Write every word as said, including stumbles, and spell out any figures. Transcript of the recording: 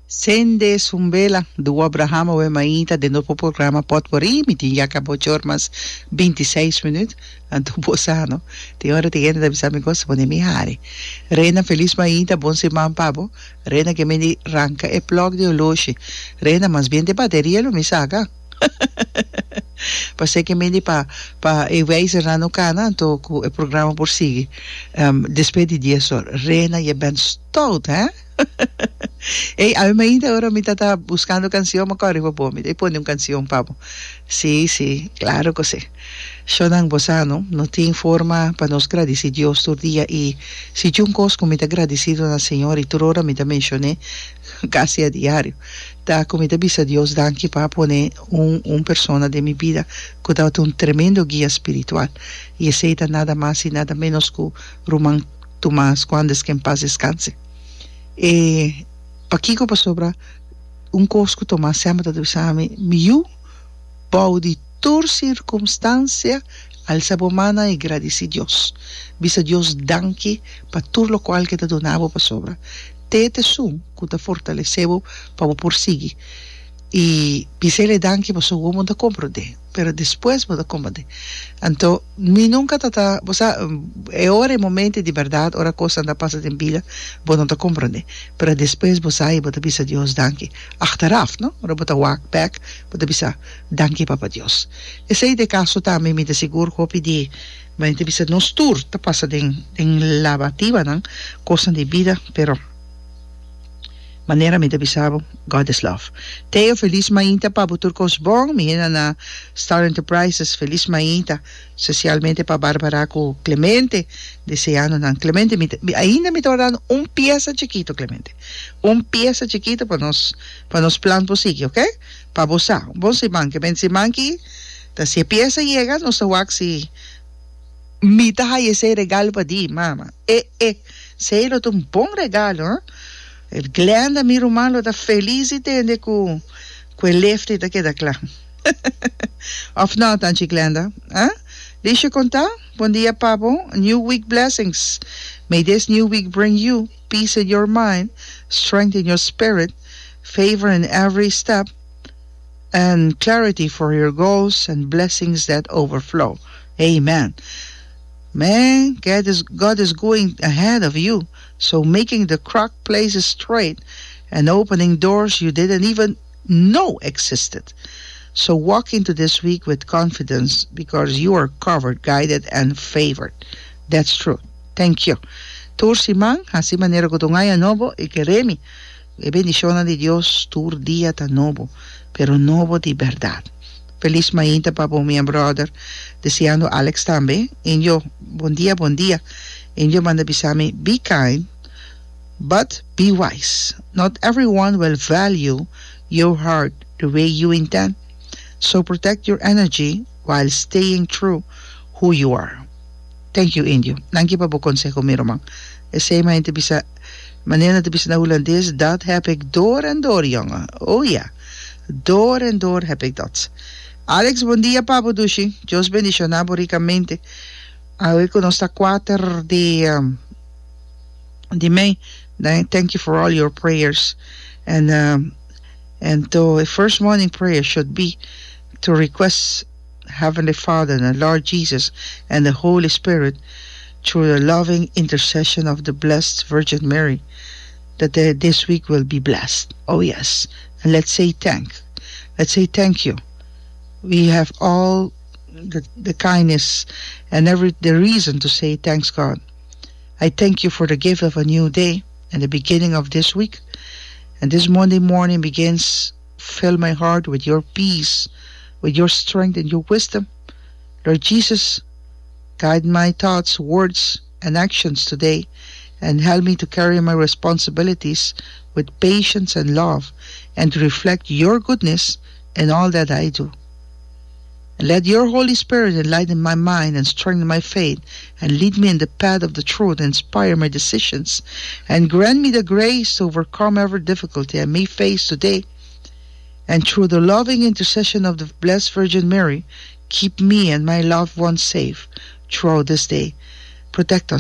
Sende Sumbela, du Abraham awe mainta den nos programa Potpourri, mi tin ya caba ocho or mas binti seis minuut, anto bo sa no, tin ora tin hende ta bisa mi cos, pone mi hari. Rena felis mainta, bon siman pa bo, Rena ke mi di ranca e plug di oloshi, Rena mas bien di bateria lo mi saca, pasé ke mi di pa pa e wijzernan no cana anto cu e programa por sigui despues di dies or, Rena je bent stout he. Ey, awe mainta ora mi ta ta buscando cancion, mi a corre pa bo, mi ta pone un cancion pa bo. Sí, sí, claro cu sí. Shonnan, bo sa no, no tin forma pa nos gradici Dios tur dia y si djun cos cu mi ta gradicido na Señor y tur ora mi ta mencion'é casi a diario, ta cu mi ta bisa Dios danki pa a pone un un persona den mi bida cu tabata un tremendo guia spiritual y esey ta nada mas y nada menos cu Ruman Tomas Cuandes que en paz descanse. E pakiko? Pasobra un kos ku Tomas semper ta bisa mi, Mi yu, bou di tur sirkumstansia, alsa bo mannan i gradisí Dios. Bisa Dios danki pa tur lokual ke ta duna bo pasobra te ta esun ku ta fortalesé bo pa bo por sigui. I bis'el e danki pasobra bo no ta komprondé, pero despues bo ta komprondé. Anto mi nunka ta ta, bo sa, e ora e momento di bèrdat, ora kosnan ta pasa den bida, bo no ta komprondé. Pero despues bo sa i bo ta bisa Dios danki. Achteraf, no? Ora bo ta wak bèk, bo ta bisa, Danki Papa Dios. Esei ta e kaso tambe, mi ta sigur hopi di, mi ta bisa nos tur ta pasa den den labatibanan, kosnan di bida, pero. Manera mi ta bisa bo, God is love. Teo felis mainta pa bo tur kos bon, mi henda na Star Enterprises felis mainta, spesialmente pa Barbara ku Clemente, deseando nan Clemente mi ta ainda mi ta wardando un piesa chikito Clemente, un piesa chikito pa nos pa nos plan por sigui ok, pa bo sa, bon siman ke men siman ki ta si e piesa yega nos ta wak si mi ta haya esei regalo pa di mama e e esei lo ta un bon regalo huh. E Glenda mi ruman lo ta felis di tende ku ku e lefti ta keda kla. Of no, Tanchi Glenda? Ah? Lisha konta? Bon dia pa bo. New week blessings. May this new week bring you peace in your mind, strength in your spirit, favor in every step, and clarity for your goals and blessings that overflow. Amen. Man, God is, God is going ahead of you, so making the crock places straight and opening doors you didn't even know existed. So walk into this week with confidence because you are covered, guided and favored. That's true. Thank you. Tur siman, hasi manera ku ta un aña nobo i kere mi. E bendishonnan di Dios tur dia ta nobo, pero nobo di bèrdat. Felis mainta pa bo mi brother, deseando Alex tambe. Indio, bon dia, bon dia. Indio manda bisa mi, be kind, but be wise. Not everyone will value your heart the way you intend. So protect your energy while staying true who you are. Thank you Indio. Danki pa bo conseho mi ruman. Esey ma hende bisa, manera nan ta bisa na Hulandes, dat heb ik door en door jongen. Oh ja, door en door heb ik dat. Alex bon dia pa bo dushi. Dios bendiciona bo ricamente. Awe cu nos ta kuater di di mei. Thank you for all your prayers and and to first morning prayer should be to request Heavenly Father and the Lord Jesus and the Holy Spirit through the loving intercession of the Blessed Virgin Mary that the, this week will be blessed. Oh yes. And let's say thank. Let's say thank you. We have all the, the kindness and every the reason to say thanks God. I thank you for the gift of a new day and the beginning of this week. And this Monday morning begins fill my heart with your peace, with your strength and your wisdom. Lord Jesus, guide my thoughts, words, and actions today and help me to carry my responsibilities with patience and love and to reflect your goodness in all that I do. And let your Holy Spirit enlighten my mind and strengthen my faith and lead me in the path of the truth and inspire my decisions and grant me the grace to overcome every difficulty I may face today. And through the loving intercession of the Blessed Virgin Mary, keep me and my loved ones safe throughout this day. Protect us